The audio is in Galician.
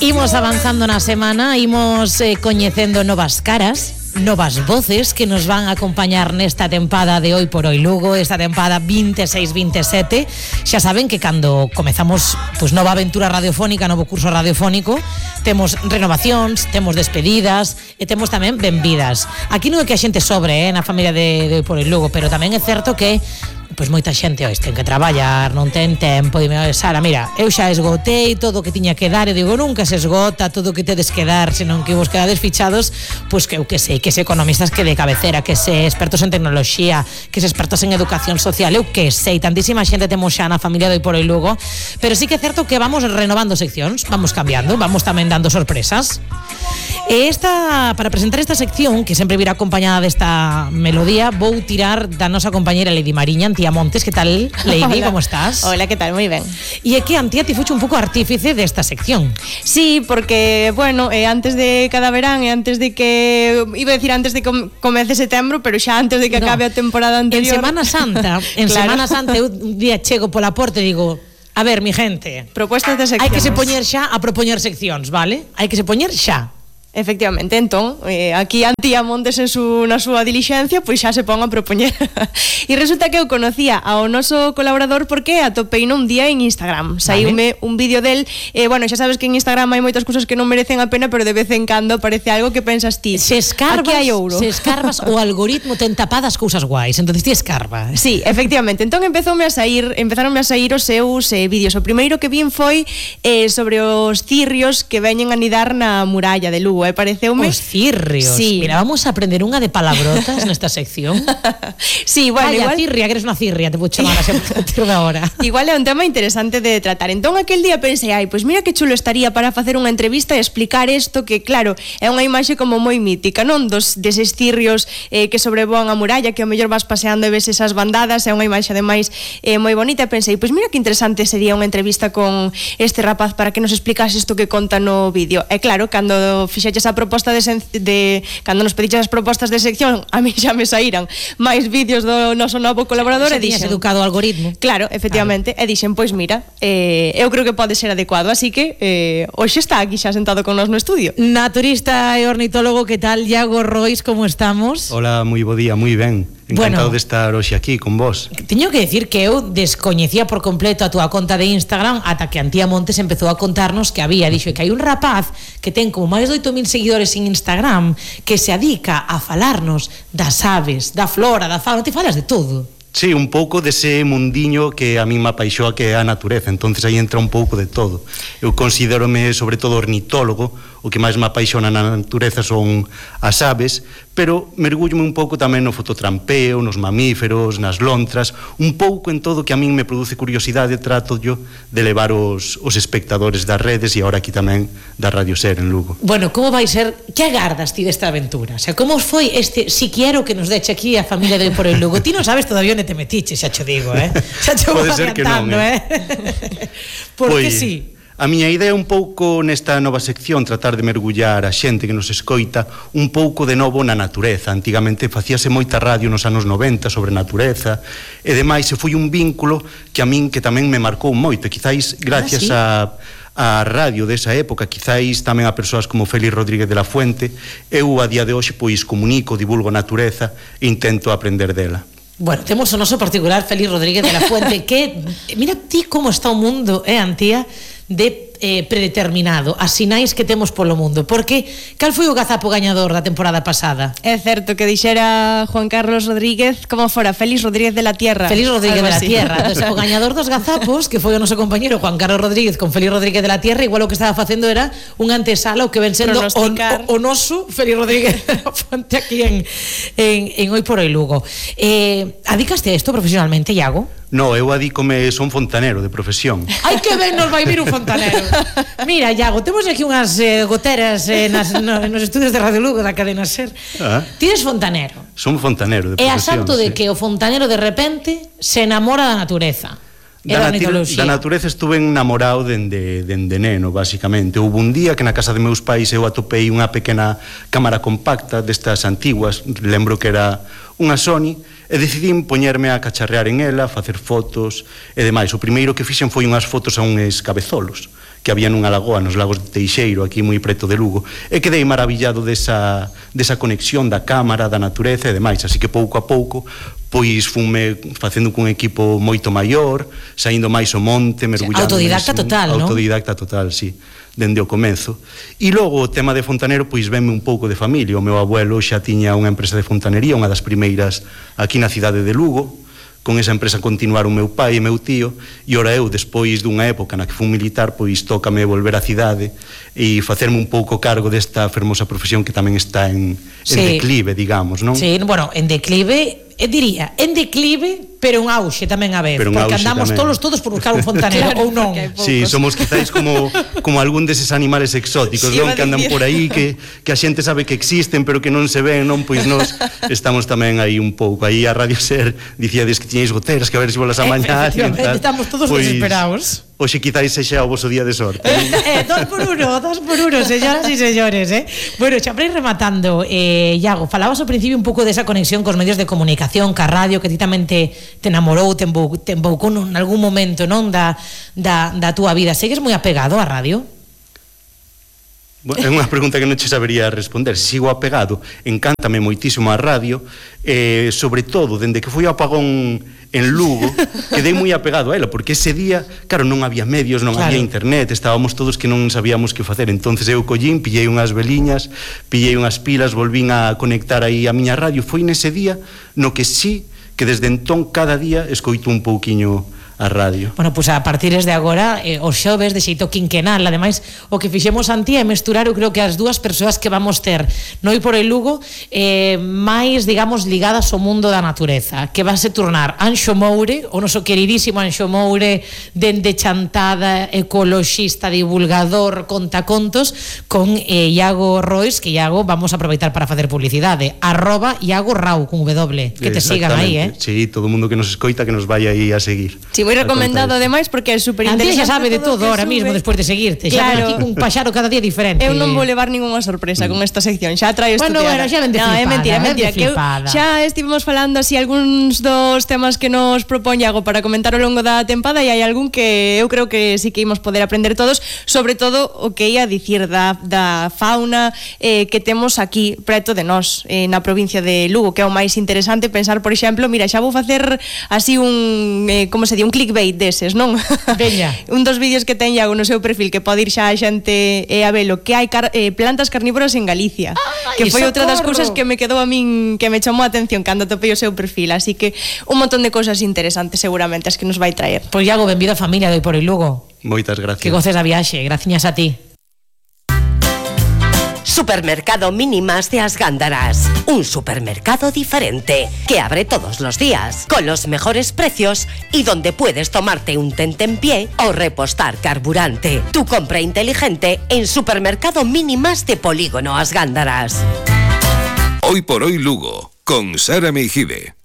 Imos avanzando na semana, imos coñecendo novas caras, novas voces que nos van a acompañar nesta tempada de Hoy por Hoy Lugo, esta tempada 26-27. Xa saben que cando comezamos nova aventura radiofónica, novo curso radiofónico, temos renovacións, temos despedidas e temos tamén benvidas. Aquí non é que a xente sobre na familia de Hoy por Hoy Lugo, pero tamén é certo que moita xente hoxe ten que traballar, non ten tempo. Dime, Sara, mira, eu xa esgotei todo o que tiña que dar. Eu digo, nunca se esgota todo o que tedes que dar, senón que vos quedades fichados, pois que eu que sei, que se economistas que de cabecera, que se expertos en tecnoloxía, que se expertos en educación social, eu que sei, tantísima xente temos xa na familia de Hoy por Hoy Lugo, pero sí que é certo que vamos renovando seccións, vamos cambiando, vamos tamén dando sorpresas. E para presentar esta sección, que sempre virá acompañada desta melodía, vou tirar da nosa compañera Lady Mariña, Antía Montes. Que tal, Lady? Hola. ¿Cómo estás? Hola, ¿qué tal? Muy ben. E é que Antía ti fuche un pouco artífice desta sección. Sí, porque, bueno, antes de cada verán e antes de que... Iba a decir antes de que comece setembro, pero xa antes de que acabe a temporada anterior. En Semana Santa, Claro. Semana Santa, eu un día chego pola porta e digo... A ver, mi gente, Propuestas de seccións. hai que se poñer xa a propoñer seccións, vale? Hai que se poñer xa. Efectivamente, entón, aquí Antía Montes na súa dilixencia, pois xa se pon a propoñer. E resulta que eu conocía ao noso colaborador porque atopei un día en Instagram. Saíume un vídeo del, bueno, xa sabes que en Instagram hai moitas cousas que non merecen a pena, pero de vez en cando aparece algo que pensas ti. Se escarbas, aquí hai ouro. Se escarbas, o algoritmo ten tapadas cousas guais, entonces ti escarba. Sí, efectivamente. Entón empezaronme a sair os seus vídeos. O primeiro que vin foi sobre os cirrios que veñen a nidar na muralla de Lugo. Pareceume... Os cirrios. Sí. Mira, vamos a aprender unha de palabrotas nesta sección. Sí, bueno, Vaya, igual... cirria, que eres unha cirria, te vou chamar así a partir de ahora. Igual é un tema interesante de tratar. Entón aquel día pensei, pois mira que chulo estaría para facer unha entrevista e explicar isto que, claro, é unha imaxe como moi mítica, non? Deses cirrios que sobrevoan a muralla, que ao mellor vas paseando e ves esas bandadas, é unha imaxe ademais moi bonita. E pensei, pois mira que interesante sería unha entrevista con este rapaz para que nos explicase isto que conta no vídeo. E claro, cando fixeches a proposta cando nos pediches as propostas de sección, a mí xa me saíran máis vídeos do noso novo colaborador. E dixen, educado o algoritmo. Claro, efectivamente, claro. E dixen, pois mira, eu creo que pode ser adecuado, así que hoxe está aquí xa sentado con nós no estudio. Naturista e ornitólogo, que tal? Iago Rois, como estamos? Hola, moi bo día, moi ben. Encantado de estar hoxe aquí con vos. Teño que decir que eu descoñecía por completo a túa conta de Instagram ata que Antía Montes empezou a contarnos que dixo que hai un rapaz que ten como máis de 8.000 seguidores en Instagram que se adica a falarnos das aves, da flora, da fauna, te falas de todo. Sí, un pouco dese mundiño que a mí me apaixoa, que é a natureza. Entonces aí entra un pouco de todo. Eu considérome sobre todo ornitólogo. O que máis me apaixona na natureza son as aves, pero mergullo un pouco tamén no fototrampeo, nos mamíferos, nas lontras, un pouco en todo que a min me produce curiosidade. Trato yo de levar os espectadores das redes e agora aquí tamén da Radio Ser en Lugo. Bueno, como vai ser? Que agardas ti desta aventura? O sea, como foi este siquiero que nos deche aquí a familia de Hoy por Hoy Lugo? Ti non sabes todavía onde te metiches, xa cho digo, xa cho vou adiantando, Porque pois, sí. A miña idea é un pouco nesta nova sección tratar de mergullar a xente que nos escoita un pouco de novo na natureza. Antigamente facíase moita radio nos anos 90 sobre natureza e demais, e foi un vínculo que a min que tamén me marcou moito, quizáis gracias a radio desa época, quizáis tamén a persoas como Félix Rodríguez de la Fuente. Eu a día de hoxe pois comunico, divulgo a natureza e intento aprender dela. Bueno, temos o noso particular Félix Rodríguez de la Fuente que, mira ti como está o mundo, Antía, de predeterminado, as sinais que temos polo mundo, porque cal foi o gazapo gañador da temporada pasada? É certo que dixera Juan Carlos Rodríguez como fora Félix Rodríguez de la Tierra. Félix Rodríguez de la Tierra. Entonces, o gañador dos gazapos, que foi o noso compañero Juan Carlos Rodríguez con Félix Rodríguez de la Tierra, igual o que estaba facendo era un antesala o que ven sendo o noso Félix Rodríguez de la Fuente aquí en Hoy por Hoy Lugo. Adicaste a isto profesionalmente, Iago? No, eu adícome, son fontanero de profesión. Ai, que ben nos vai vir un fontanero. Mira, Iago, temos aquí unhas goteras nos estudios de Radio Lugo da cadena Ser. Ti eres fontanero. Son fontanero de profesión. E a salto de que o fontanero de repente se enamora da natureza. Da natureza estuve enamorado dende neno, basicamente. Houve un día que na casa de meus pais eu atopei unha pequena cámara compacta destas antiguas, lembro que era unha Sony, e decidín poñerme a cacharrear en ela, facer fotos e demais. O primeiro que fixen foi unhas fotos a uns cabezolos que había nunha lagoa nos Lagos de Teixeiro, aquí moi preto de Lugo, e quedei maravillado desa conexión da cámara, da natureza e demais, así que pouco a pouco pois funme facendo cun equipo moito maior, saindo máis ao monte, mergullando. Autodidacta total, non? Autodidacta total, sí, dende o comenzo. E logo o tema de fontanero pois venme un pouco de familia. O meu abuelo xa tiña unha empresa de fontanería, unha das primeiras aquí na cidade de Lugo. Con esa empresa continuaron meu pai e meu tío, e ora eu, despois dunha época na que fui militar, pois tócame volver á cidade e facerme un pouco cargo desta fermosa profesión que tamén está en declive, digamos, non? Sí, bueno, en declive, diría, en declive, pero un auxe tamén a ver, porque andamos todos por buscar un fontanero, claro, ou non? Sí, somos quizáis como algún deses animales exóticos, sí, non? Que andan por aí, que a xente sabe que existen, pero que non se ven, non? Pois nós estamos tamén aí un pouco. Aí a Radio Ser dicíades que tiñais goteras, que a ver se volas amañar. Efectivamente, estamos todos desesperados. Oxe, quizáis sexa o voso día de sorte. 2 por 1, señoras e señores, Bueno, xa para ir rematando, Iago, falabas ao principio un pouco desa conexión cos medios de comunicación, ca radio, que ti tamén te enamorou, te emboucou en algún momento, non, da túa vida. Segues moi apegado á radio? Bueno, é unha pregunta que non che sabería responder. Sigo apegado, encántame moitísimo a radio, sobre todo, dende que foi o apagón en Lugo, quedei moi apegado a ela, porque ese día, claro, non había medios, non había internet, estábamos todos que non sabíamos que facer. Entonces eu collín, pillei unhas veliñas, pillei unhas pilas, volvín a conectar aí a miña radio. Foi nese día no que sí, que desde entón cada día escoito un pouquiño a radio. Bueno, pois a partir de agora, os xoves de xeito quinquenal, ademais o que fixemos antía é mesturar, eu creo que as dúas persoas que vamos ter no Hoy por Hoy Lugo máis, digamos, ligadas ao mundo da natureza, que va a se tornar Anxo Moure, o noso queridísimo Anxo Moure, dende chantada, ecoloxista, divulgador, contacontos, con Iago Rois, que Iago vamos a aproveitar para facer publicidade, @IagoRau con W, que te sigan aí, Sí, todo o mundo que nos escoita que nos vaya aí a seguir. Sí, moi recomendado ademais porque é super interesante. Antía xa sabe de todo ahora mismo despois de seguirte. Claro. Xa ven aquí un paxaro cada día diferente. Eu non vou levar ningunha sorpresa con esta sección. Xa traio estudiada. Bueno, xa ven de flipada. É mentira. Que xa estivemos falando así algúns dos temas que nos propón Iago para comentar ao longo da tempada, e hai algún que eu creo que sí que imos poder aprender todos, sobre todo o que ia dicir da fauna que temos aquí preto de nós, na provincia de Lugo, que é o máis interesante pensar, por exemplo, mira, xa vou facer así un como se di, un clickbait deses, non? Veña. Un dos vídeos que ten Iago no seu perfil, que pode ir xa a xente a velo, que hai plantas carnívoras en Galicia. Que foi outra das cousas que me quedou a min, que me chamou a atención cando topei o seu perfil. Así que un montón de cousas interesantes seguramente as que nos vai traer. Pois Iago, benvido a familia de Hoy por Hoy Lugo. Moitas gracias. Que goces a viaxe, graciñas a ti. Supermercado Mínimas de As Gándaras, un supermercado diferente que abre todos los días, con los mejores precios y donde puedes tomarte un tentempié o repostar carburante. Tu compra inteligente en Supermercado Mínimas de Polígono As Gándaras. Hoy por Hoy Lugo, con Sara Meijide.